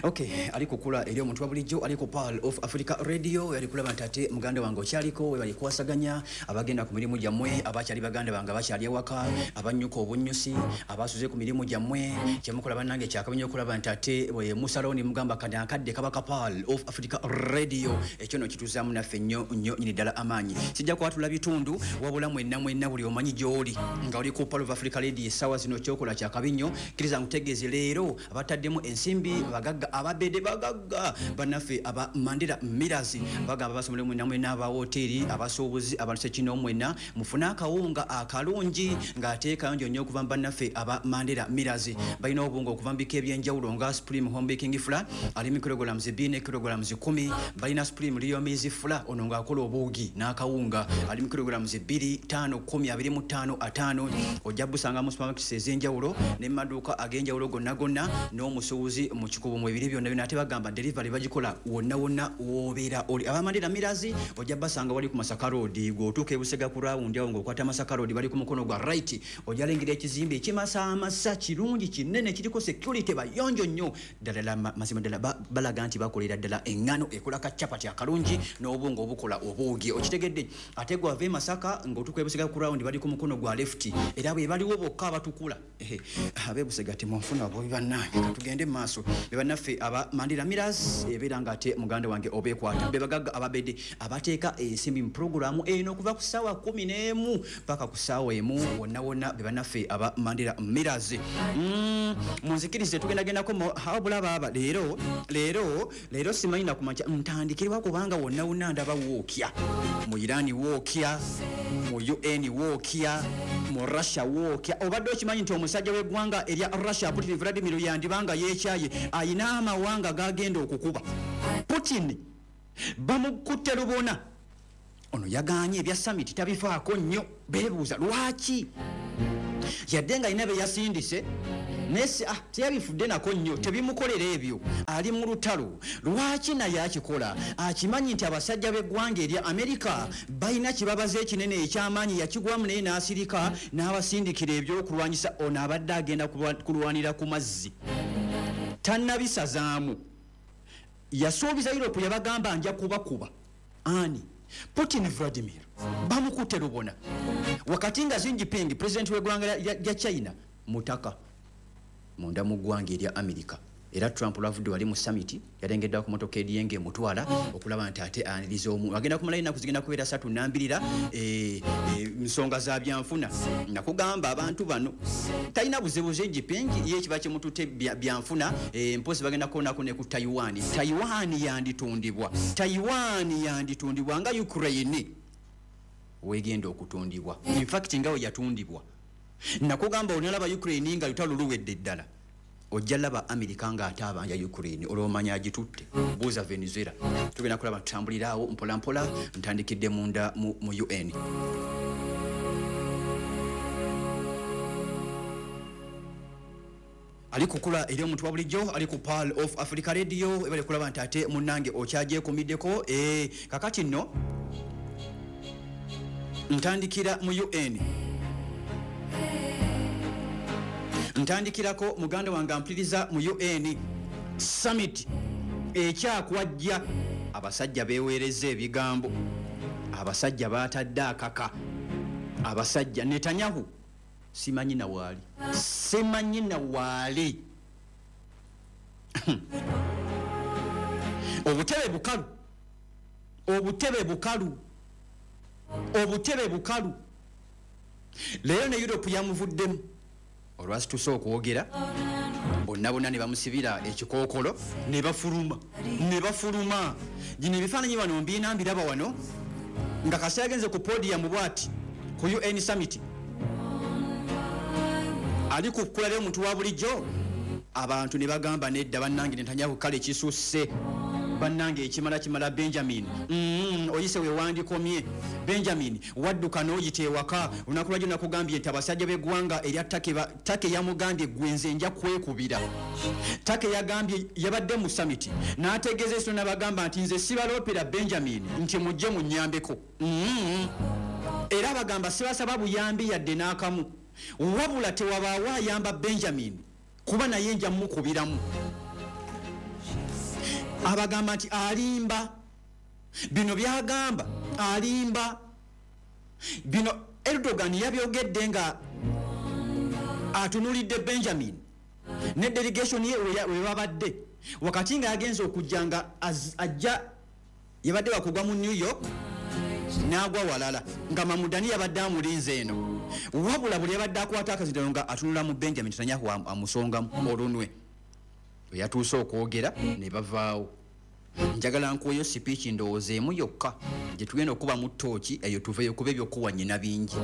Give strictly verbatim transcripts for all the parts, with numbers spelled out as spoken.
Okay, ali kukula eri omuntu wa bulijjo ali ku Pearl of Africa Radio, yali kulaba nti ate muganda wange okyaliko, we bali kwasaganya abagenda ku mirimu gyammwe, abakyali baganda bange abakyali ewaka, abannyuka obunnyusi, abasuze ku mirimu gyammwe, kyemukola bannange kyakabi okulaba nti ate bwe musalawo ne mugamba kati akadde kaba ka Pearl of Africa Radio, ekyo nno kituzaamu naffe nnyo nnyo nnyini ddala amaanyi. Sijja kwatula bitundu, wabula mwenna mwenna buli omanyi gy'oli nga oli ku Pearl of Africa Radio essaawa zino kyokola kyakabi nnyo. Kkiriza nkutegeeze leero abataddemu ensimbi bagagga ababede bagagga bannaffe aba Mandela Millers bagamba basomere mwenna mwenna aba woteeri, abasuubuzi, abantu ssekinnoomu mwenna mufune akawunga akalungi ng'ate kayonjo nnyo okuva mu bannaffe aba Mandela Millers. Balina obuwunga okuva mu bika eby'enjawulo nga Supreme Home Baking Flour ali mu kilograms bbiri ne kilograms kumi. Balina Supreme Real Maize Flour ono ng'akola obuugi n'akawunga ali mu kilograms bbiri, ttaano, kkumi, abiri mu ttaano, ataano. Ojja busanga mu supermarkets ez'enjawulo ne mu maduuka ag'enjawulo gonna gonna n'omusuubuzi mu kikubo mu ebiri byonna byonna. Ate bagamba delivery bagikola wonna wonna w'obeera oli. Aba Mandela Millers ojja basanga wali ku Masaka Road, gw'otuuka e Busega ku round awo ng'okwata Masaka Road bali ku mukono gwa right, ojja lengera ekizimbe ekimasaamasa kirungi kinene kiriko security bayonjo nnyo ddala ddala, mazima ddala balaga nti bakolera ddala eŋŋano ekola ka chapati akalungi n'obunga obukola obuugi, okitegedde. Ate gw'ava e Masaka ng'otuuka e Busega ku round bali ku mukono gwa left, era bwe baliwo bokka abatukula. Ab'e Busega temunfuna bubi bannange, katugende mu maaso. Be bannaffe aba Mandela Millers ebeera ng'ate muganda wange obeekwata, be bagagga ababedde abateeka ensimbi mu pulogulaamu eno okuva ku ssaawa kkumi n'emu paka ku ssaawa emu wonna wonna, be bannaffe aba Mandela Millers. Munzikirize tugendagendako wabula baaba leero leero leero simanyi nakumakya ntandikirwa kubanga wonna wonna ndaba wookya mu Iran, wookya mu U N, wookya mu Russia, wookya. Obadde okimanyi nti omusajja w'eggwanga erya Russia Putin Vladimir yandibanga yeekyaye ayina amawanga gagenda okukuba. Putin bamukutte lubona, ono yagaanye ebya summit tabifaako nnyo, beebuuza lwaki yadde nga alina be yasindise naye ah, teyabifudde nako nnyo, tebimukolera ebyo, ali mu lutalo. Lwaki naye akikola? Akimanyi nti abasajja b'eggwanga erya Amerika balina kibabaza ekinene eky'amaanyi, yakigwamu naye n'asirika n'abasindikira ebyokulwanyisa. Ono abadde agenda kulwanira ku mazzi, tannabisazaamu. Yasuubiza Europe, yabagamba nja kubakuba. Ani? Putin Vladimir bamukutte lubona. Wakati nga Xi Jinping president w'eggwanga lya China mutaka munda mu ggwanga erya Amerika, era Trump lwavudde wali mu summit yalengeddwa ku motoka ediyenge emutwala okulaba nti ate aniriza omu agenda kumala ennaku zigenda kubeera ssatu nambirira nsonga za byanfuna. Nakugamba abantu bano talina buzibu. Xi Jinping ye kiba kimututte byanfuna, mpozi bagenda kuonako ne ku Taiwan. Taiwan yanditundibwa, Taiwan yanditundibwa nga Ukraine wegenda okutundibwa. In fact nga we yatundibwa. Nakugamba onalaba Ukraine nga lutalo luwedde ddala, ojja laba Amerika nga ate abanja Ukraine olw'omanya agitutte. Buuza Venezuela. Tugenda kulaba tutambuliraawo mpola mpola. Ntandikidde munda mu, mu U N. Ali kukula eri omuntu wa bulijjo ali ku Pearl of Africa Radio, ebale kulaba nti ate munnange okyagyekumiddeko. Eh, kakati nno ntandikira mu U N. Ntandikirako muganda wange ampuliriza mu U N summit ekyakwajja. Abasajja beeweereza ebigambo, abasajja baatadde akaka, abasajja Netanyahu simanyi na waali, simanyi na waali. Obutebe bukalu, obutebe bukalu, obutebe bukalu. Leero ne Europe yamuvuddemu olwasituse okwogera, bonna bonna ne bamusibira ekikookolo ne bafuluma, ne bafuluma. Gino ebifaananyi bano mbiina mbiraba wano nga kasi agenze ku podium bw'ati ku U N summit, ali ku kkula ly'omuntu wa bulijjo. Abantu ne bagamba nedda bannange Netanyahu kale kisusse, bannange ekimala kimala. Benjamin mm, oyise we wandikomye. Benjamin wadduka n'oyita ewaka. Olunaku lwajjo nakugambye nti abasajja b'eggwanga erya Turkey yamugambye gwe nze nja kwekubira. Turkey yagambye yabadde mu summit n'ategeeza ensi n'abagamba nti nze sibaloopera Benjamin nti mujje munnyambeko. Mm. Era bagamba sibasaba buyambi yadde n'akamu, wabula tewabaawo ayamba Benjamin kuba naye nja mmukubiramu. Abagamba nti alimba, bino byagamba alimba. Bino Erdogan yabyogedde nga atunulidde Benjamin ne delegation ye we babadde, wakati nga yagenze okujja nga ajja yabadde wakugwa mu New York n'agwa walala, nga Mamudani yabadde amulinze eno. Wabula buli yabadde akwata akazindalo nga atunula mu Benjamin Netanyahu amusongamu olunwe. Bwe yatuuse okwogera ne bavaawo. Njagala nkuweyo sipiiki ndowooza emu yokka gye tugenda okuba mu ttooki eyo tuveeyo, kuba ebyokuwa nnyina bingi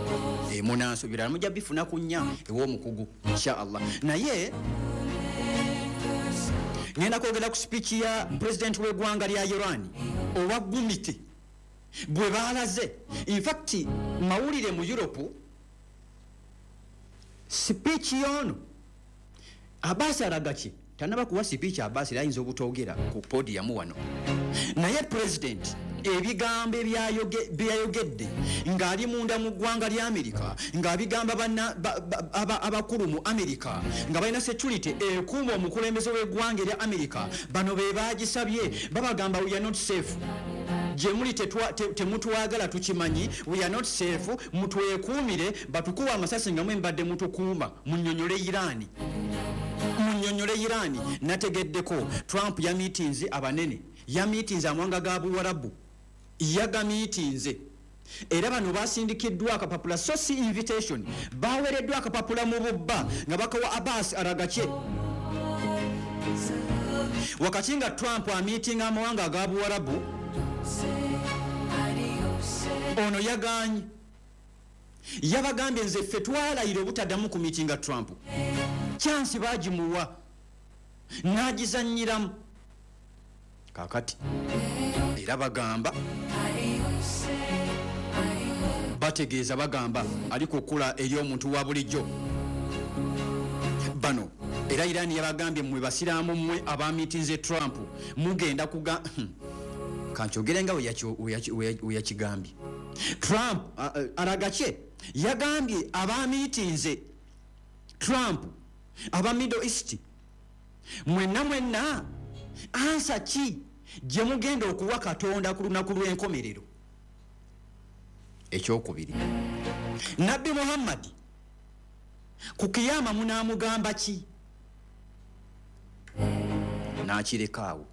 emunanso birala mujja bifuna ku nnya ew'omukugu insha Allah. Naye ngenda kwogera ku sipiiki ya pulezidenti w'eggwanga lya Iran owa Gumite bwe baalaze. In fact mawulire mu Europe sipiiki y'ono Abbas Aragaki tanaba kuwa sipiiki. Abbas era ayinza obutogera ku podium wano, naye pulezidenti ebigambo byayogedde ng'ali munda mu ggwanga lya Amerika, ng'abigamba abakulu mu Amerika nga balina security ekuuma omukulembeze w'eggwanga erya Amerika. Bano be bagisabye, babagamba we are not safe, gye muli temutwagala tukimanyi, we are not safe, mutwekuumire, batukuwa amasasi nga mwe mbadde mutukuuma. Munnyonnyole Iran, munnyonnyole Iran. Nategeddeko Trump yamiitinze abanene, yamiitinze amawanga ga Buwarabu, yagamiitinze era bano basindikiddwa akapapula, so si invitation, baweereddwa akapapula mu bubba nga bakawa Abbas Aragaki. Wakati nga Trump amiitinga amawanga aga Buwarabu, ono yaganye, yabagambye nze ffe twalayira obutaddamu ku miitinga Trump. Kyansi bagimuwa n'agizannyiramu. Kaakati era bagamba, bategeeza, bagamba ali kukula eri omuntu wa bulijjo. Bano era Iran yabagambye mmwe basiraamu mmwe abamiitinze Trump mugenda kuga kankyogere nga we yakigambye. Trump Aragaki yagambye abamiitinze Trump aba Middle East mwenna mwenna ansa ki gye mugenda okuwa Katonda ku lunaku lw'enkomerero. Ekyokubiri, Nabbi Muhammad ku kiyama munaamugamba ki? N'akireka awo.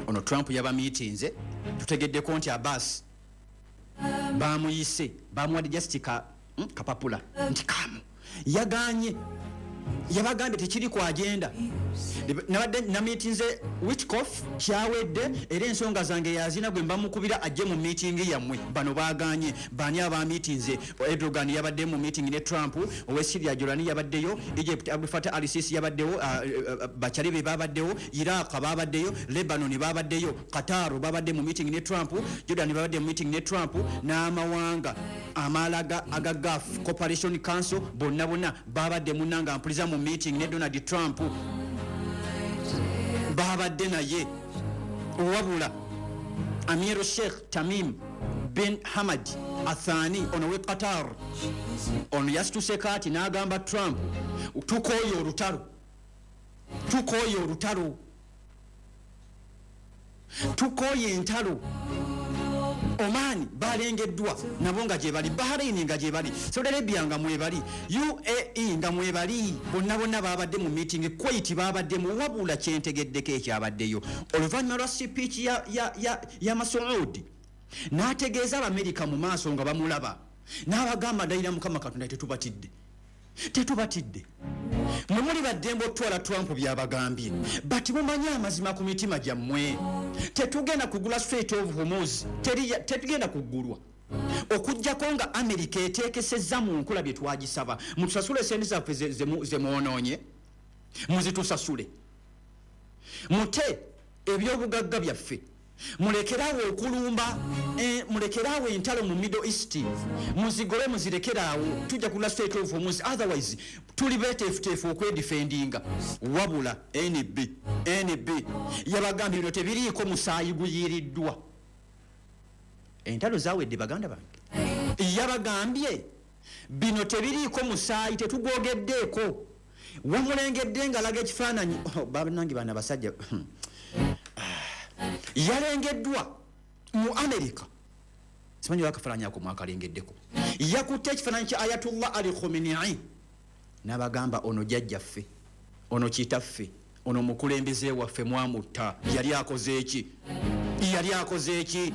Ono Trump yabamiitinze, tutegeddeko nti Abbas bamuyise, bamuwadde just ka kapapula nti kamu, yaganye, yabagambye tekiri ku agenda. Nabadde namiitinze Witkoff kyawedde, era ensonga zange yazina gwe mbamukubira ajje mu meeting yammwe. Bano baganye. Bani abamiitinze? Erdogan yabadde mu meeting ne Trump, owe Syria Jolani yabaddeyo, Egypt Abdel Fattah al-Sisi yabaddewo, bakyali be babaddewo, Iraq babaddeyo, Lebanon babaddeyo, Qatar babadde mu meeting ne Trump, Jordan babadde mu meeting ne Trump, n'amawanga amalaga aga Gulf Cooperation Council bonna bonna babadde munnanga mpuliza mu meeting ne Donald Trump babadde naye. Wabula Amir Sheikh Tamim bin Hamad Athani ono we Qatar, ono yasituse kaati n'agamba Trump tukooye olutalo, tukooye olutalo, tukooye entalo. Oman balengeddwa nabo nga gye bali, Bahrain nga gye bali, Saudi Arabia nga mwebali, U A E nga mwebali, bonna bonna babadde mu meeting, Kuwait babadde mu. Wabula kyentegeddeko ekyabaddeyo oluvannyuma lwa speech ya, ya, ya, ya Masoud n'ategeeza Abamerika mu maaso nga bamulaba, n'abagamba ndayira Mukama Katonda tetubatidde, tetubatidde, mwe muli baddembe otwala Trump byabagambye, but mumanyi amazima ku mitima gyammwe, tetugenda kugula Strait of Hormuz, tetugenda kugulwa okuggyako nga Amerika eteekesezza mu nkola bye twagisaba. Mutusasule sente zaffe ze mwonoonye, muzitusasule, mute ebyobugagga byaffe, mulekeraawo okulumba, eh, mulekeraawo entalo mu Middle East, muzigole muzirekeraawo, tujja kugula Strait of Hormuz, otherwise tuli beeteefuteefu okwedifendinga. Wabula N B N B yabagambye bino tebiriiko musaayi guyiiriddwa. Entalo zaawedde baganda bange. Yabagambye bino tebiriiko musaayi, tetugwogeddeeko. Wamulengedde ng'alaga ekifaananyi. Oh, bannange bano abasajja Yalengeddwa mu America, simanyi wakafaananyi ako mwakalengeddeko. Yakutte ekifaananyi kya Ayatollah Ali Khamenei n'abagamba, ono jjajjaffe, ono kitaffe, ono mukulembeze waffe, mwamutta. Yali akoze eki? Yali akoze eki?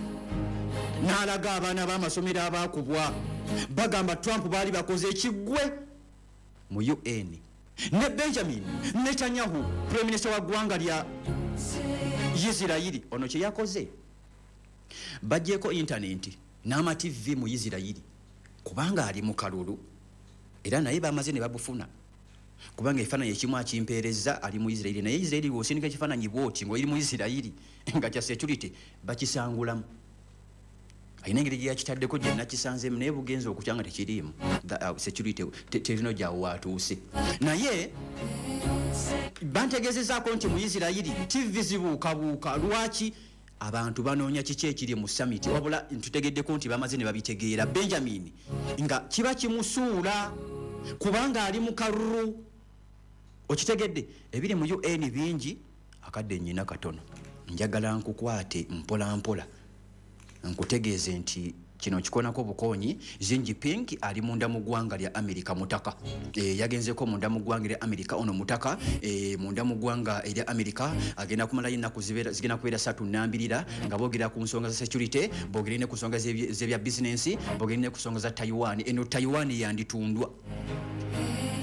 N'alaga abaana b'amasomero abaakubwa, bagamba Trump baali bakoze ekiggwe mu U N. Ne Benjamin Netanyahu, prime minister wa ggwanga lya Isirayiri, ono kye yakoze, bagyeko intaneti n'ama T V mu Isirayiri kubanga ali mu kalulu, era naye bamaze ne babufuna, kubanga ekifaananyi ekimu akimpeereza ali mu Isirayiri. Naye Isirayiri bw'osindika ekifaananyi bwoti ng'oli mu Isirayiri nga kya security, bakisangulamu. Alina engeri gye yakitaddeko gye nakisanzeemu, naye bugenza okutya nga tekiriimu. uh, security terino gyawo waatuuse. Naye bantegeezezaako nti mu Isirayiri T V zibuukabuuka. Lwaki? Abantu banoonya kiki ekiri mu summit. Wabula ntutegeddeko nti bamaze ne babitegeera. Benjamin nga kiba kimusuula kubanga ali mu kalulu. Okitegedde? Ebiri mu U N bingi, akadde nyina katono. Njagala nkukwate mpola mpola, nkutegeeze nti kino kikonako bukonyi. Xi Jinping ali munda mu ggwanga lya Amerika mutaka. e, yagenzeko munda mu ggwanga lya Amerika. Ono mutaka e, munda mu ggwanga erya Amerika agenda kumalayo ennaku zigenda kubeera satu nambirira nga boogera ku nsonga za security, boogere ne ku nsonga z'ebya bizinensi, boogere ne ku nsonga za Taiwan. Eno Taiwan yanditundwa.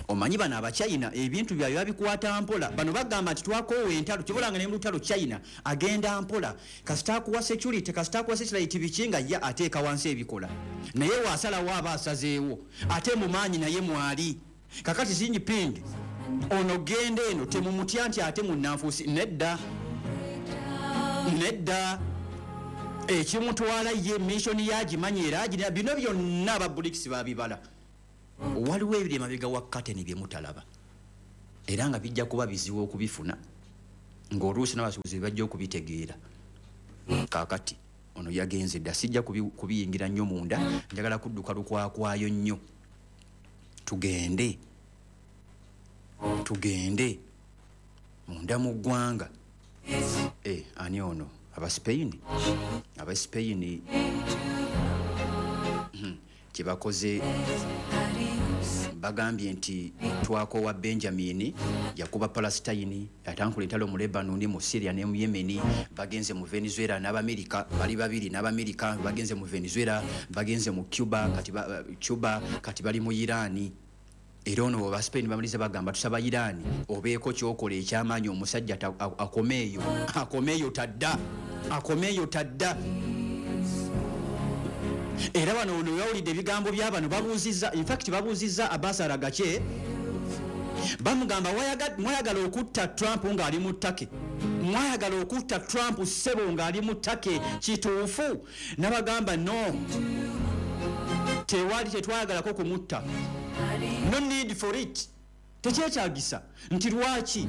Omanyi bano Abachina ebintu byabwe babikwata mpola. Bano bagamba nti twakoowa entalo. Kibolanga ne mu lutalo China agenda mpola. Kasita akuwa security, kasita akuwa satellite, biki, nga ye ateeka wansi ebikola, naye waasalawo aba asazeewo, ate mu maanyi naye mwali. Kakati Xi Jinping ono genda eno temumutya nti ate munnanfuusi. Nedda, nedda, ekimutwala ye mission yagimanyi era agirina. Bino byonna aba BRICS babibala. Waliwo ebiri emabega wa kateni bye mutalaba, era nga bijja kuba bizibu okubifuna, ng'oluusi n'abasuubuzi bajja okubitegeera. Kaakati ono yagenze dda, sijja kubiyingira nnyo munda, njagala kudduka lukwakwayo nnyo. Tugende, tugende munda mu ggwanga. E, ani ono? Abaspain, Abaspain hmm, kyebakoze, bagambye nti twakoowa Benjamin. Yakuba Palestine, yatankula entalo mu Lebanon, mu Syria ne mu Yemen. Bagenze mu Venezuela n'Abamerika bali babiri, n'Abamerika bagenze mu Venezuela, bagenze mu Cuba, kati ba, Cuba, kati bali mu Irani. Era ono ba Spain bamaliza bagamba, tusaba Irani obeeko kyokola ekyamaanyi, omusajja akomeeyo, akomeeyo tadda, akomeeyo tadda. Era wano ono yawulidde ebigambo byabano, babuuzizza, infact babuuzizza Abbas Araghchi, bamugamba, mwayagala okutta Trump ng'ali mu Turkey, mwayagala okutta Trump ssebo ng'ali mu Turkey, kituufu? Nabagamba, no, tewali, tetwayagalako kumutta, no need for it, tekyetagisa. Nti lwaki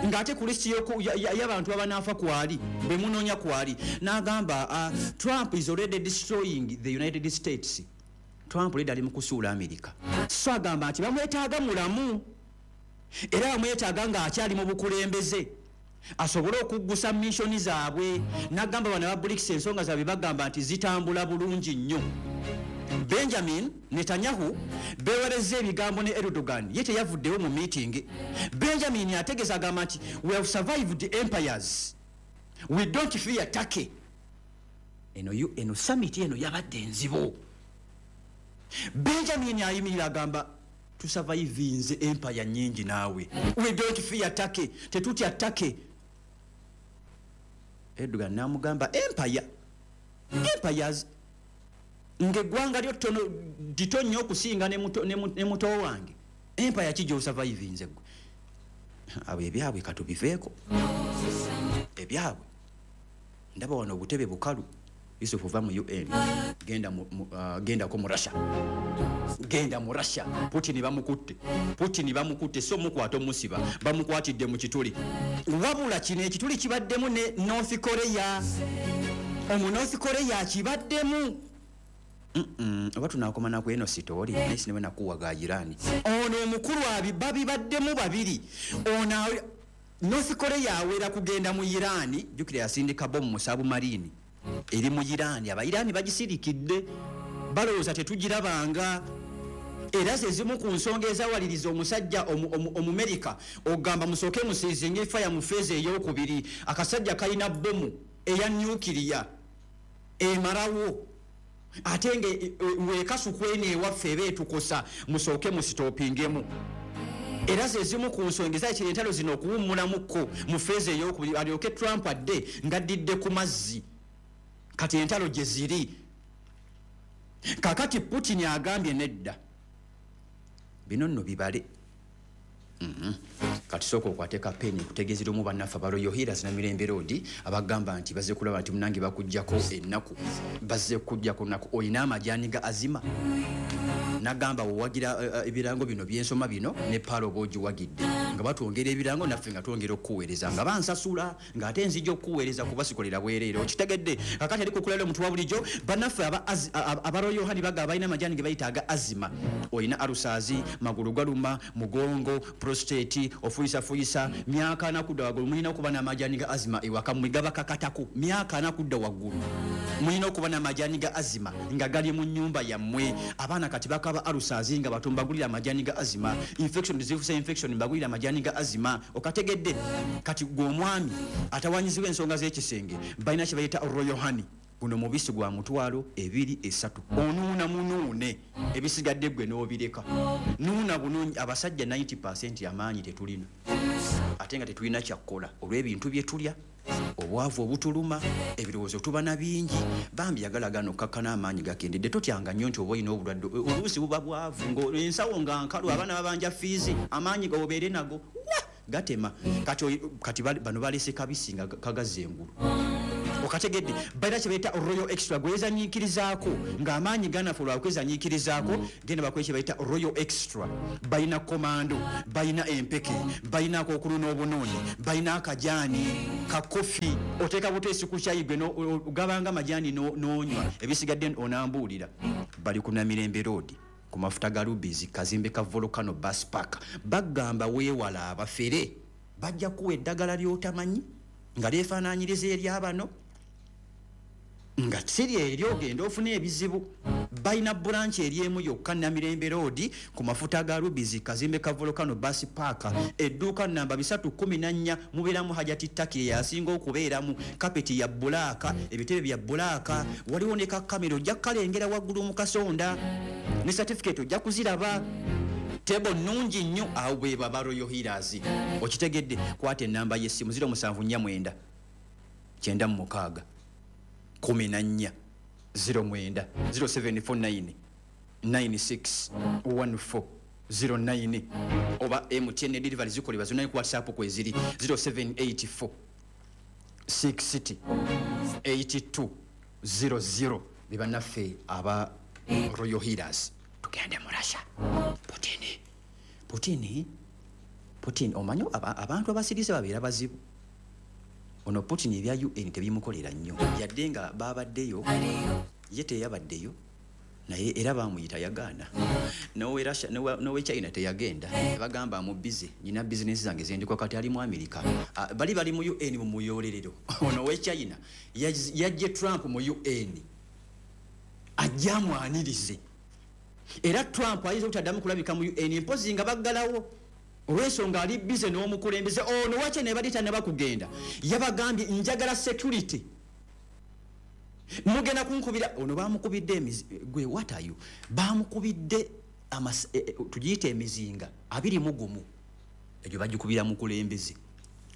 ng'ate ku lisiti y'abantu abanaafa kwali bwe munoonya kwali? N'agamba, uh, Trump is already destroying the United States. Trump already ali mu kusuula America. So agamba nti bamwetaaga mulamu, era bamwetaaga ng'akyali mu bukulembeze asobole okuggusa mission zaabwe. N'agamba bano aba BRICS ensonga zaabwe bagamba nti zitambula bulungi nnyo. Benjamin Netanyahu bewereza ebigambo ne Erdogan, ye teyavuddewo mu meeting. Benjamin ategeeza, agamba nti we have survived empires, we don't fear Turkey. Eno, eno summit eno yabadde enzibu. Benjamin ayimirira agamba, tusurvivinze empire nyingi naawe, we don't fear Turkey, tetutya Turkey. Erdogan namugamba, empire, empires, ng'eggwanga lyo ttono dito nnyo okusinga ne muto wange, empire ki gy'osurvivinze gwe? Abo ebyabwe katubiveeko, ebyabwe ndaba wano obutebe bukalu. Yusufu, va mu U N, genda mu, uh, gendako mu Russia, genda mu Russia. Putin bamukutte, Putin bamukutte, so mukwata omusiba, bamukwatidde mu kituli. Wabula kino ekituli kibaddemu ne North Korea, omu North Korea kibaddemu. Oba tunakoma naku eno story, naye sinewe nakuwa ga Irani. Ono omukulu abi babibaddemu babiri. Ono North Korea awera kugenda mu Iran, jjukira yasindika bomu mu submarine eri mu Iran, aba Iran bagisirikidde balowooza tetugirabanga. Era ze zimu ku nsonga ezawaliriza omusajja Omumerika ogamba musooke musiizinge fire mu phase ey'okubiri. Akasajja kalina bomu eya nuclear emalawo, ate nga wekasukwene ewaffe eba etukosa, musooke musitopingemu. Era ze zimu ku nsonga ezakira entalo zino okuwummulamuko mu phase ey'okubiri, alyoke Trump adde ng'addidde ku mazzi. Kati entalo gye ziri. Kakati Putin agambye nedda, bino nno bibale. Mm-hmm. Kati sooka okwate kapeni nkutegeezera omu bannaffe aba Royal Healers Namirembe Road abagamba nti bazze kulaba nti munange bakuggyako ennaku, bazze kuggyako nnaku. Olina amajaani ga azima, nagamba wewagira ebirango bino byensoma bino ne paalo oba ogiwagidde, nga batwongera ebirango naffe nga twongera okukuweereza, nga bansasula ng'ate nzija okukuweereza kuba sikolera bwereere. Okitegedde? Kakati ali kukulala omuntu wa bulijjo, bannaffe aba Royal Honey bagamba balina amajaani ge bayita aga azima. Olina alusaazi, magulu galuma, mugongo, prostate, ofuyisafuyisa, myaka ana kudda waggulu mulina okuba n'amajaani ga azima ewaka mmwe gabakakatako. Myaka ana kudda waggulu mulina okuba n'amajaani ga azima nga gali mu nnyumba yammwe. Abaana kati bakaba alusaazi nga bato, mbagulira amajaani ga azima. Infection zifuse infection, mbagulira amajaani ga azima. Okategedde? Kati gwe omwami atawanyizibwa ensonga z'ekisenge, balina kye bayita Royal Honey. Guno mubisi gwa mutwalo ebiri esatu, onuuna munuune, ebisigadde gwe n'obireka. Nuuna bulungi. Abasajja ninety percent amaanyi tetulina, ate nga tetulina kyakkola olw'ebintu bye tulya, obwavu obutuluma, ebirowoozo tuba na bingi. Bambi yagala gano okkakkana amaanyi gakendedde. Totyanga nnyo nti oba olina obulwadde, oluusi buba bwavu, ensawo nga nkalu, abaana babanja fiizi, amaanyi obeere nago wa gatema. Kati, kati bano balese kabisi nga kagazza engulu. Okategedde? Balina kye bayita Royal Extra, gwezanyiikirizaako ng'amaanyi ganafu lwakwezanyiikirizaako, genda bakola kye bayita Royal Extra. Balina komando, balina empeke, balina akookulu n'obunuuni, balina akajaani ka kofi, oteeka buteesi ku kyayi gwe gabanga amajaani n'onywa, ebisigadde onambuulira. Bali ku Namirembe Road ku mafuta ga Rubies, kazimbe ka Volcano Bus Park. Bagamba weewala abafere, bajja kuwa eddagala ly'otamanyi nga lyefaanaanyiriza eryabano, nga siri eryo, ogenda ofuna ebizibu. Balina branch eri emu yokka, Namirembe Road ku mafuta ga Rubies, kazimbe ka Volcano Bus Park, edduuka namba bisatu kumi na nnya. Mubeeramu Hajati Taki yasinga okubeeramu, kapeti ya bulaaka, ebitebe bya bulaaka, waliwo ne kakamera ojja kukalengera waggulu mu kasonda, ne certificate ojja kuziraba, tebo nnungi nnyo. Awo bwe baba Royal Healers. Okitegedde? Kwata ennamba y'essimu ziro musanvu nnya mwenda kyenda mu mukaaga kumi na nnya ziro mwenda, ziro seven four nine nine six one four zero nine, oba M T N delivery zikolebwa zonna ku WhatsApp kweziri ziro seven eight four six eight two zero zero. Be bannaffe aba Royal Healers. Tugende mu Russia. Putin, Putin, Putin, omanyi abantu abasirise babeera bazibu. Ono Putin ebya U N tebimukolera nnyo, yadde nga babaddeyo, ye teyabaddeyo, naye era bamuyita yagaana. N'owe Russia, n'owe China teyagenda, bagamba mu busy, nina business zange zendiko, kati ali mu America. Bali bali mu U N mu muyolerero. Ono owe China yajje Trump mu U N ajja amwanirize. Era Trump ayinza obutaddamu kulabika mu U N mpozi nga baggalawo olw'ensonga ali busy n'omukulembeze. Ono wakye ne bali tannaba kugenda, yabagambye njagala security, mugenda kunkubira. Ono bamukubidde emizi, gwe what are you? Bamukubidde tugiyite emizinga abiri mu gumu, egyo bagikubira mukulembeze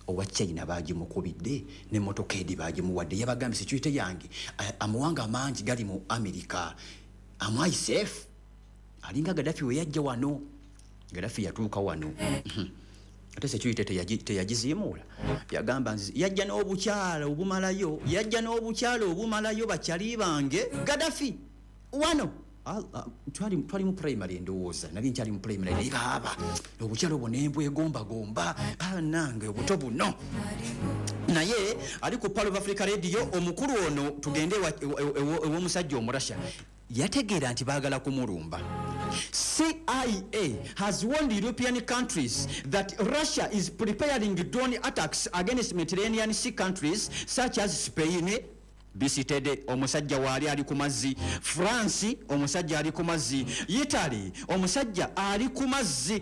owa China, bagimukubidde n'emmotoka edi bagimuwadde. Yabagambye security yange, amawanga amangi gali mu America, am I safe? Alinga Gaddafi we yajja wano, Gaddafi yatuuka wano, ate security teyagiziimuula. Yagamba yajja n'obukyala obumalayo, yajja n'obukyala obumalayo bakyali bange Gaddafi wano. Twali twali mu primary ndowooza, nali nkyali mu primary, naye baaba obukyala obwo nembwegombagomba nange obuto buno. Naye ali ku Pearl of Africa Radio, omukulu ono tugende ew'omusajja Omurasha, yategeera nti baagala kumulumba. C I A has warned European countries that Russia is preparing drone attacks against Mediterranean Sea countries such as Spain. Bisitede, omusajja waali ali ku mazzi. France, omusajja ali ku mazzi. Italy, omusajja ali ku mazzi.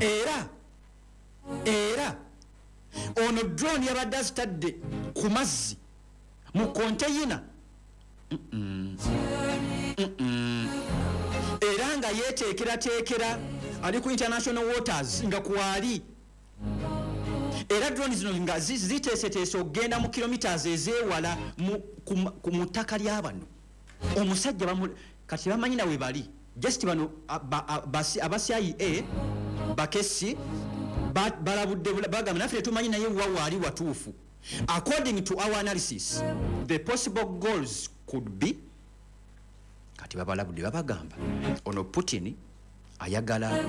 Era era ono drone yabadde azitadde ku mazzi mu konteyina, era nga yeteekerateekera, ali ku international waters nga kwali. Era drone zino nga zi- ziteeseteese okugenda mu kilometers ezeewala mu- ku ma- ku mu ttaka lyabano. Omusajja bamu- kati bamanyi nawe bali just bano aba C I A bakesi ba- balabudde, bula- bagamba naffe tetumanyi naye wa waali watuufu. According to our analysis, the possible goals could be, kati babalabudde, babagamba ono Putin ayagala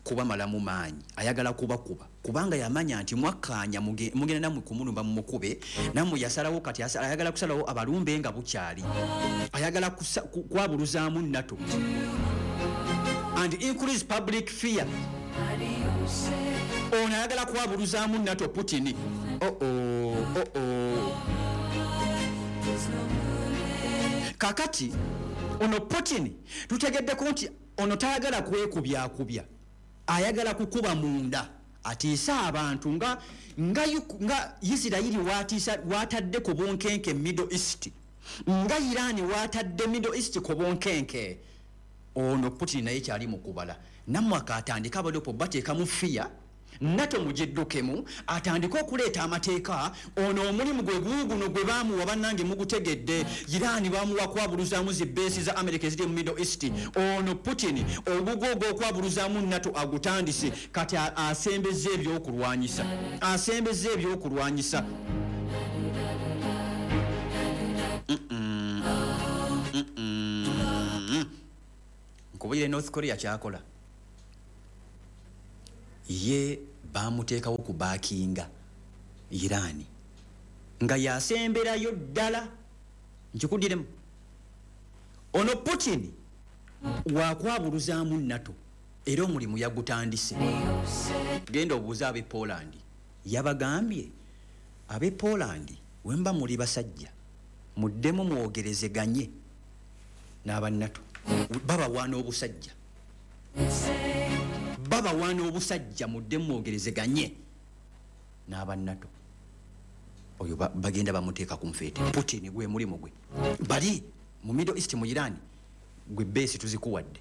kubamalamu maanyi, ayagala kubakuba kubanga yamanya nti mwakkaanya muge- mugenda nammwe kumulumba mumukube, nammwe yasalawo. Kati asa- ayagala kusalawo abalumbe nga bukyali, ayagala kusa- ku- kwabuluzaamu NATO and increase public fear. Ono ayagala kwabuluzaamu NATO, Putin. oh -oh, oh -oh. Kakati ono Putin tutegeddeko nti ono tayagala kwekubyakubya, ayagala kukuba munda, atiise abantu nga nga, Uk- nga Isirayiri watiisa, watadde ku bunkenke Middle East, nga Iran watadde Middle East ku bunkenke. Ono Putin naye kyali mu kubala nammwe, akatandika abalopo bateekamu fear, NATO mugiddukemu, atandike okuleeta amateeka. Ono omulimu gwe guuguno gwe baamuwa, bannange mugutegedde. Iran bamuwa kwabuluzaamu zi base za America eziri mu Middle East. Ono Putin ogugo ogw'okwabuluzaamu NATO agutandise. Kati a- asembeza ebyokulwanyisa, asembeza ebyokulwanyisa. Mm-mm. Mm-mm. Nkubulire, North Korea kyakola, ye bamuteekawo kubackinga Iran nga yasemberayo ddala. Nkikuddiremu, ono Putin wakwabuluzaamu NATO era omulimu yagutandise. Genda obuuze ab'e Poland, yabagambye ab'e Poland, wemba muli basajja muddemu mwogerezeganye n'abannato. Babawaana obusajja, babawaana obusajja, muddemu mwogerezeganye n'abannato. Oyo ba- bagenda bamuteeka ku nfeete. Putin gwe mulimu gwe bali mu Middle East, mu Iran, gwe base tuzikuwadde.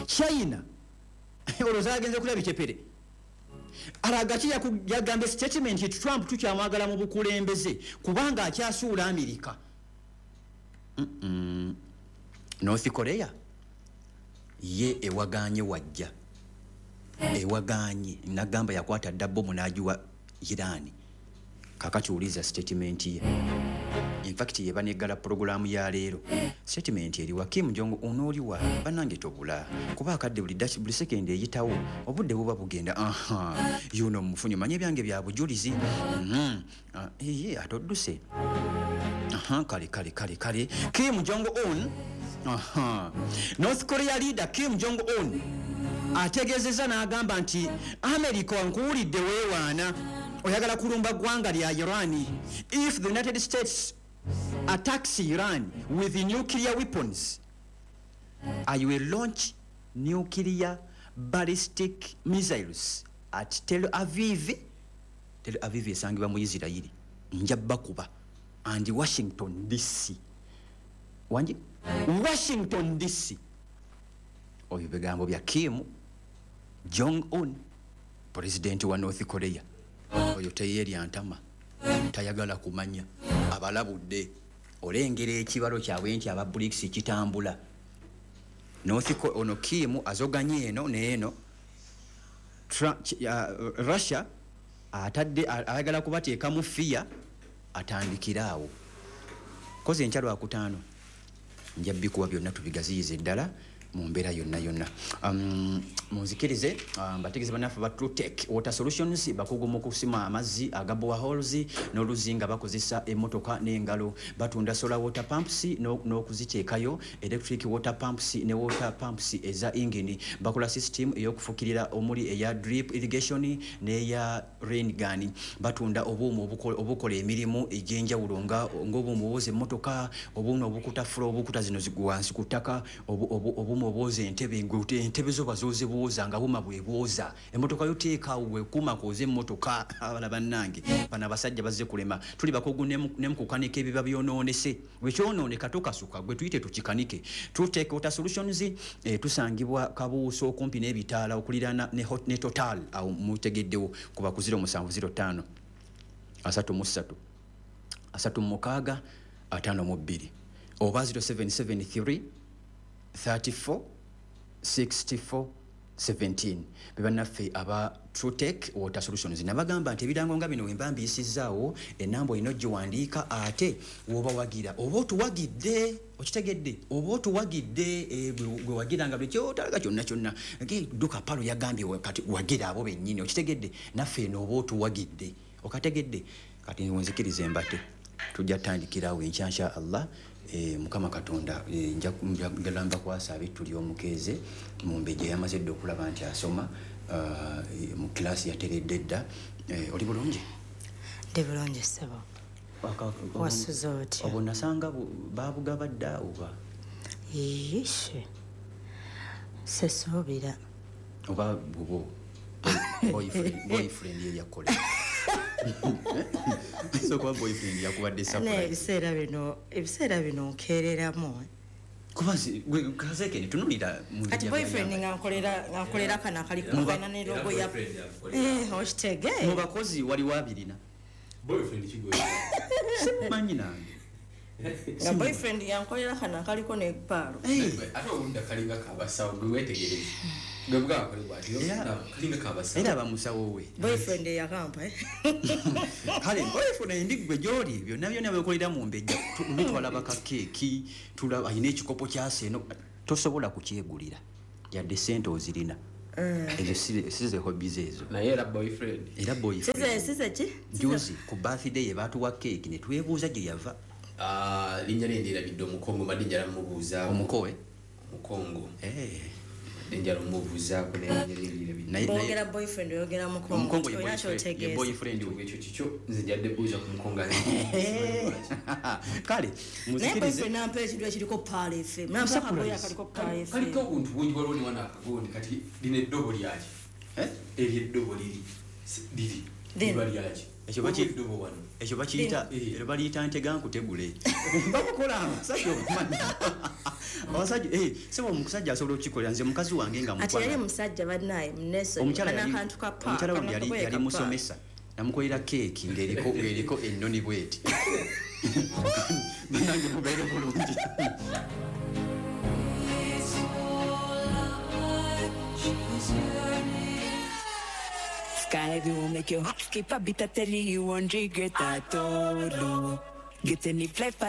China olwo zagenze kulaba bikyepere. Alagaki yagambye statement nti Trump tukyamwagala mu bukulembeze kubanga akyasuula Amerika. Mm-mm. North Korea ye ewaganye, wajja ewaganye, nagamba yakwata dda bomu n'agiwa Iran. Kakati uliza statement ye, infact yeba neggala purogulaamu ya leero. Statement eriwa? Kim Jong Un oliwa? Bannange tobula kuba akadde buli daki, buli sekendi eyitawo obudde buba bugenda. Aha, yuno mufunyi manye ebyange bya bujulizi. Mhm. Ah, ye ate odduse. Aha, kale kale kale kale, Kim Jong Un. Aha, North Korea leader Kim Jong Un ategeezezza n'agamba nti America nkuwulidde weewaana oyagala kulumba ggwanga lya Iran. If the United States attacks Iran with nuclear weapons, I will launch nuclear ballistic missiles at Tel Aviv. Tel Aviv esangibwa mu Isirayiri. Nja bakuba, and Washington D C. Wangi Washington D C. Oyo bigambo bya Kim Jong Un, pulezidenti wa North Korea. Oyo teyeerya ntama, tayagala kumanya, abalabudde. Olengera ekibalo kyabwe nti aba BRICS kitambula. North Ko- ono Kim azoganye eno neeno. Tra- ki- uh, Russia atadde, ayagala kubateekamu fear, atandikire awo. Koze enkya Lwakutaano nja bikuwa byonna tubigaziyize ddala. mu mbeera yonna yonna. Um, munzikirize um, bategeeze bannaffe ba Trutech Water Solutions, bakugu mu kusima amazzi aga boreholes n'oluzzi nga bakozesa emmotoka n'engalo. Batunda solar water pumps no- n'okuziteekayo, electric water pumps ne water pumps eza ingini. Bakola system ey'okufukirira omuli eya drip irrigation n'eya rain gun. Batunda obuuma obuko- obukola emirimu egy'enjawulo nga ng'obuuma obwoza emmotoka, obuuma obukuta floor, obukuta zino zi- wansi ku ttaka, obu- obu- obuuma obwoza entebe, ng'ote- entebe zo bazooze bwoza nga buuma bwe bwoza emmotoka yo. Teekaawo bwekuuma kwoza emmotoka. Abala bannange, bano abasajja bazze kulema. Tuli bakugu ne mu- ne mu kukanika ebiba byonoonese. Bwe kyonooneka tokasuka, gwe tuyite tukikanike. Trutech Water Solutions, eh, tusangibwa Kabuuso okumpi n'ebitaala okuliraana ne, hot- ne Total. Awo mutegeddewo kuba ku zero musanvu zero ttaano asatu mu ssatu asatu mu mukaaga ataano mu bbiri oba zero seven seven three thirty-four sixty-four seventeen. Be bannaffe aba Trutech Water Solutions. Nabagamba nti ebirango nga bino wemba mbiyisizaawo, enamba olina ogiwandiika, ate woba wagira oba otuwagidde, okitegedde, oba otuwagidde, eh, gwe gwe wagira nga buli kyotalaga kyonna kyonna. Ge, duka palo yagambye wa- kati wagira abo bennyini, okitegedde, naffe eno oba otuwagidde, okategedde. Kati nzikiriza embate, tujja tandikirawo enkya insha Allah. Eh, mukama Katonda, eh, nja njagala mbakwasa abittu ly'omukeeze Mumbejja. Yamaze dda okulaba nti asoma, ah, eh, mu kilasi yateredde dda. Eh, oli bulungi? Ndi bulungi, ssebo. Aka- Wasuze otya? Obwo nasanga bu- babugaba dda oba? Yishe, sesuubira. Oba bubwo boyfriend boyfriend ye yakola so, kuba boyfriend yakubadde Naye surprise. Ebiseera bino, ebiseera bino nkeereramu. Kuba zi- gwe kazekene tunulira mu Kati bijja boyfriend byayamba. nga nkolera nga nkolera kano akaliko Muba- kalina ne logo ya Boyfriend amukolera. Eh, okitege. Mu bakozi waliwo abirina. Boyfriend kigwe? Simanyi nange. Nga boyfriend yankolera kano akaliko ne paalo. Ate obudda kalinga kabasawo, gwe wetegereze gwe bwakole bwati. Era- Kalinga kabasawo. Era bamusawo we. Boyfriend eyakampa, eh? Kale boyfriend ndi gwe gyoli byonna byonna byekolera mu Mbejja. Tu- luli twalaba ka keeki, tulaba alina ekikopo kyaseeno, tosobola kukyegulira yadde sente ozirina. Ezo si- si ze hobbies ezo. Naye era boyfriend. Era size boyfriend. Size ki? Juzi ku birthday ye baatuwa keeki ne twebuuza gye yava. Ah, linnya lye ndirabidde, Omukongo, mbadde njala mubuuzaako. Omukowe? Omukongo. Eh, Mbadde njala omubuuzaako naye linnya lye ndirabidde. naye naye Bwogera boyfriend oyogera mukongo. Omukongo ye Olina boyfriend- ye kyotegeeza. boyfriend we. Ekyo kikyo, nze njadde buuza ku Mukongo. Kale Naye muzikirize. boyfriend nampa ekintu ekiriko Pearl F M, nampa akagoye akaliko Pearl F M. Kaliko obuntu bungi, waliwo ne wano akagondi. Kati lino eddobo lyaki? Eh? Eryo eddobo liri Si- liri Lino. liba lyaki? Ekyo baki- Waliwo eddobo wano. Ekyo bakiyita, Eh. eryo baliyita ntega nkutegule. Babukola abasajja, obumanyi abasajja, eh, sebo omusajja asobola okukikolera. Nze mukazi wange nga Ati yali mukwano. musajja bannaye muneso. Omukyala yali akantu ka pa omukyala wange yali yali musomesa, namukolera keeki ng'eriko ng'eriko ennoni bweti. Banange, mubeere bulungi. It's all I she's yearning. Sky will make your heart skip a beat. I tell you, you won't regret at all. Get any flight.